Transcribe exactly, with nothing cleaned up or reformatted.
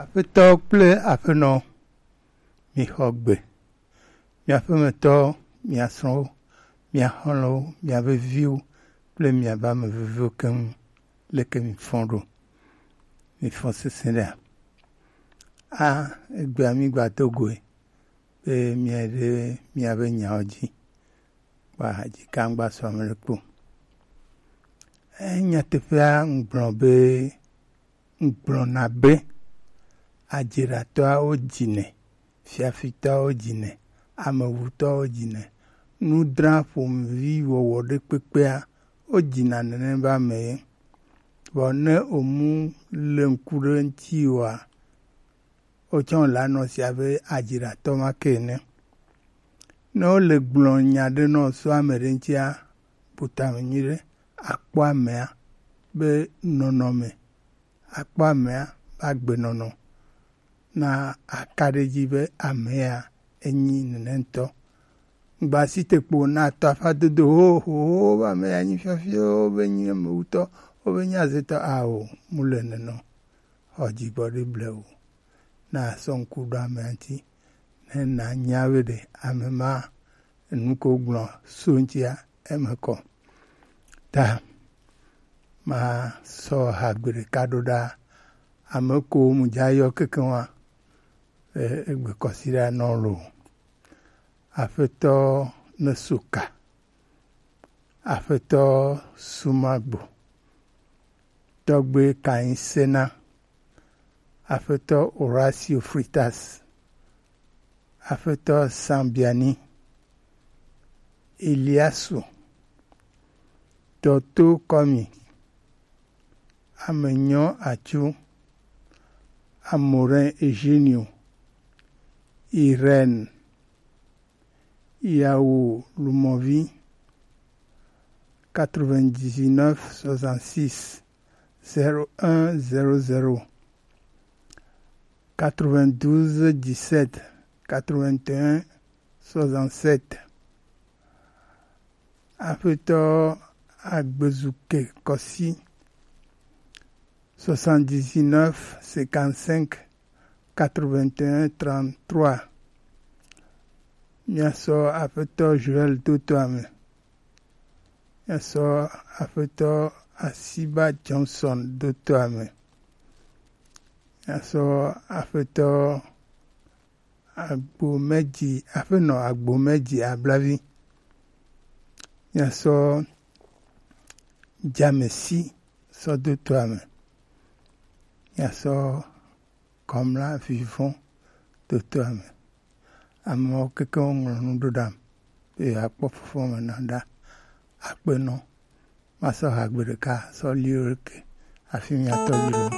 Aƒetɔ kple aƒenɔ, mixɔ gbe. Mia ƒemetɔwo, mia srɔ̃wo, mia xɔlɔ̃wo, mia veviwo kple mia be ame veviwo keŋ, leke mifɔ ɖo? Mifɔ sesẽ ɖea? A, egbea migba do goe be miaɖe miabe nyawo dzi. Kpa dzi ka ŋgba sɔ ame ɖe kpo. E, nyateƒea ŋgblɔ be, ŋgblɔna be, adziɖatɔawo dzinɛ, fiafitɔawo dzinɛ, amewutɔawo dzinɛ, nudra ƒomevi wɔwɔ ɖe kpekpea, wodzina nene be ame ye. Vɔ ne omu le ŋku ɖe ŋuti oa, wotsɔ le anɔ sia be adziɖatɔ ma ke ene. Ne wole gblɔ nya ɖe nɔ so ame ɖe ŋutia, bu tame nyuiɖe, akpɔ amea be nɔnɔme, akpɔ amea be agbenɔnɔ, na aka ɖe edzi be amea enyi nene ŋutɔ. Ŋgba si te kpo na tɔ afa dodo ho ho ho be amea nyi fiafio, be nyi amewutɔ, be nyi azetɔ, ao, mu le nene o. Xɔ dzigbɔ ɖe blewu. Na sɔ ŋku ɖo amea ŋuti, ne nanya be ɖe ame ma, enu ko gblɔ so ŋutia, eme kɔ. Ta ma sɔ ha gbe ɖeka ɖo ɖa, ame ko mu dza yɔ kekeŋ wa, e, egbe kɔsiɖa nɔ lo. Aƒetɔ Nesoka, Aƒetɔ Sumagbo, Tɔgbe Kainsena, Aƒetɔ Horacio Fritas, Aƒetɔ Sambiani, Eliasu, Dɔto Kɔmi, Amenyɔ Atsu, Amorin Eugenio, Irène, Yawo Lumovi, quatre-vingt-dix-neuf soixante-six zéro un zéro zéro, quatre-vingt-douze dix-sept quatre-vingt-un soixante-sept. Aƒetɔ Agbezuke Kɔsi, soixante-dix-neuf cinquante-cinq quatre-vingt-un trente-trois. Miasɔ Aƒetɔ Joel Dotoame. Miasɔ Aƒetɔ Asiba Johnson Dotoame. Miasɔ Aƒetɔ Agbomedzi, Aƒenɔ Agbomedzi Ablavi. Miasɔ Jamesi sɔ Dotoame. Miasɔ Kɔmla Vivɔn Dotoame. Amewo kekeŋ woŋlɔ nu ɖo ɖam be yewoakpɔ fofo me na ɖa. Akpe nɔ. Masɔ ha gbe ɖeka sɔ li wo ɖeke hafi miatɔ dzi ɖo.